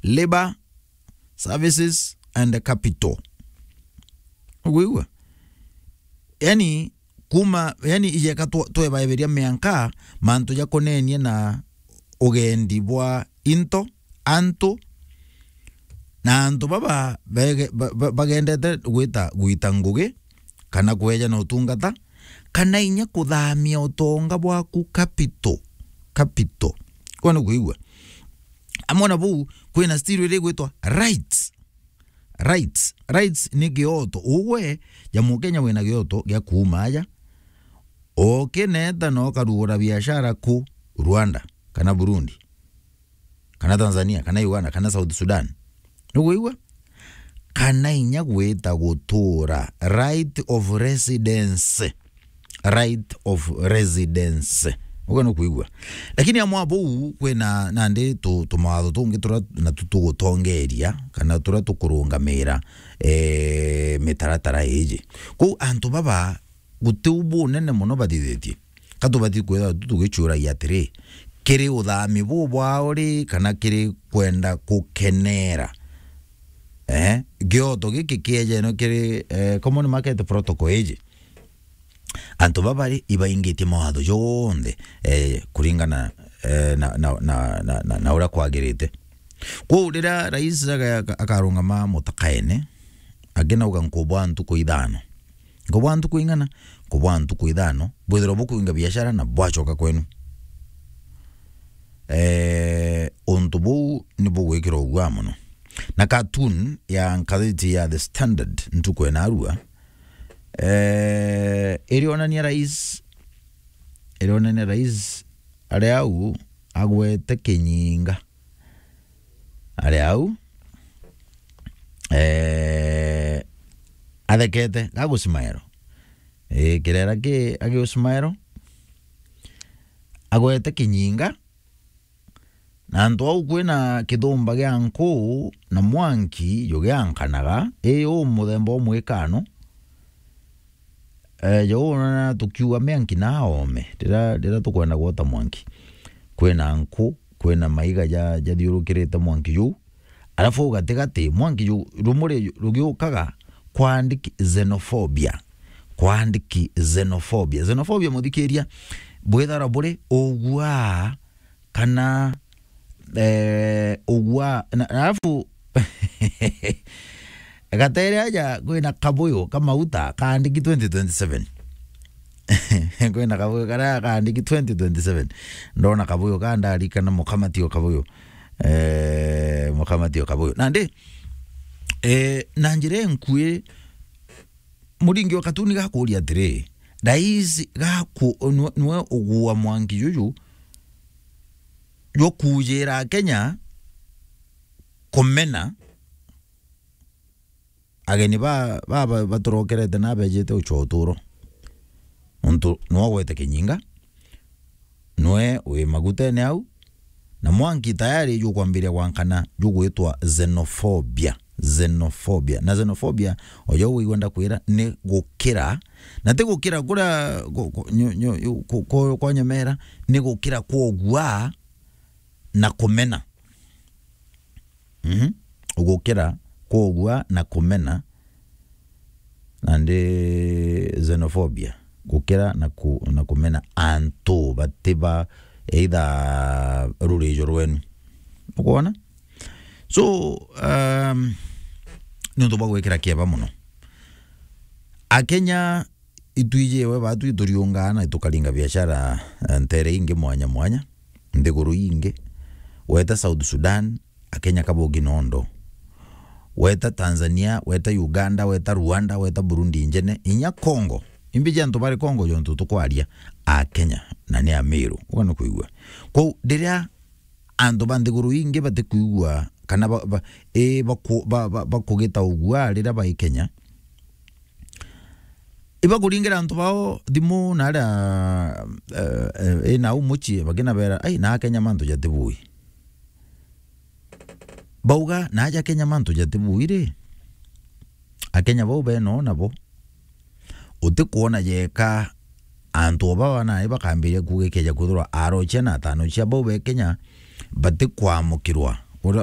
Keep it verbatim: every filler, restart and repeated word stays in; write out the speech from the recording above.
Labour, Services and Capital. Ukwigua? Yani, kuma, yani, ijeka twe-, twebaeberia mianka mantu jakonenie na ugendi bwa into, antu, na antu baba bege-, ba-, ba-, bagendete gwita, gwita ngugi, kana kweja na utungata, kana inya kuthamia utonga bwaku capital, capital. Kwona kwigua? Amwe na buu, kwina still iri gwitwa rights. Rights. Rights ni gioto. Ugwe, ja Mukenya wina gioto gia kuuma aja, ukineta na ukarugura biashara ku Rwanda, kana Burundi, kana Tanzania, kana Uganda, kana South Sudan. Nukwigua? Kana inya gwita gutura, right of residence. Right of residence. Uga nukwigua? Lakini amwe a buu, kwina nandi tu-, tumawatho tungi turia natu tugutongeria, kana turia tukurungamira, eh, mitaratara iji. Kwou antu baba, guti u bunene mono bathithitie. Ka tubati kwithirwa tu-, tugicuuragia atiri, kiri uthami buu bwao ri, kana kiri kwenda gukenera, eh, gioto giki kiejeno kiri, eh, common market protocol iji? Antu baba ri, ibaingitie mawatho jonthe, eh, kuringana, eh, na, na, na, na, na, na uria kwagirite. Kwou riria rais aga-, akarungama mutakaene, akinauga, "Nkubwa ntuku ithano." Nkubwa ntuku ing'ana? Nkubwa ntuku ithano, bwithirwa bukwinga biashara na bwacoka kwenu. Eh, untu buu ni bugwikirwa uguaa mono. Na cartoon ya ngathiti ya The Standard ntuku ya narua, eh, irionania rais, irionania rais ari au agwete kinyinga. Ari au, eh, athekete, gagusimaero. Eh, kirera ki, agiusimaero, agwete kinyinga, na antu au kwina kithumba gia nku na mwanki jugiankanaga, ii u muthemba umwe ikano. Eh, jou na tukiuga mwanki na aome, rira, rira tukwenda gwota mwanki, kwina nku, kwina maiga ja, jathiurukirite mwanki juu, alafu au gatigati, mwanki juu, rumuri rugiukaga, kwandiki xenophobia, kwandiki xenophobia. Xenophobia, muthikiria, bwithara buri ugua kana, eh, ugua, na, alafu gatere aja kwina kabuyu ka mauta kaandiki twenty twenty-seven. Kwina kabuyu karia kaandiki twenty twenty-seven. Ndona kabuyu ka ndarikana mukamati o kabuyu. Eh, mukamati o kabuyu. Nandi, eh, na njira enkui, muringi o katuni gakuria atiri, rais gaku-, nwe, nwe ugua mwanki juju jwa kuujira Akenya kumena ageni ba, ba, ba, baturokerete na bejite ucwa uturo. Nontu nwe ugwete kinyinga, nwe wi magutene au, na mwanki tayari jukwambiria gwankana jugwitwa xenophobia. Xenophobia. Na xenophobia, ojo wigua ndakwira, ni gukira, na ti gukira kuria ku-, ku-, nyu-, nyu-, ku-, ku-, kwa nyemera, ni gukira kwa ugua na kumena. Mhm. Gukira kwa ugua na kumena, nandi xenophobia, gukira na ku-, na kumena antu bati ba either rurijo rwenu. Ukwona? So, um, ni untu bwa gwikira kieba mono. Akenya itwijiwe batu ituriungaa na tukaringa biashara, eh, ntere ingi mwanya mwanya, nthiguru ingi. Weta South Sudan, Akenya kabogi nondo. Weta Tanzania, weta Uganda, weta Rwanda, weta Burundi injene, inya Congo. Imbiji antu bari Congo jontu tukwaria, Akenya, na ni Amiru. Uga ni kwigua. Kwou, riria antu ba nthiguru ingi batikwigua, kana ba, ba, i, baku-, ba, ba, bakugita ugua riria bai Kenya, ibakuringira antu bao thimu na aria, eh, eh, i nau mucii, bakinabera, "Ai, na Akenya mantu jatibui." Bauga, "Na aja Kenya mantu jatibui ri?" Akenya bau beno nabo. Utikwona jeka antu o baba nai bakambiria kuuga ikeja kwithirwa arochia na atanochia bau be Kenya batikwamukirwa. Uria,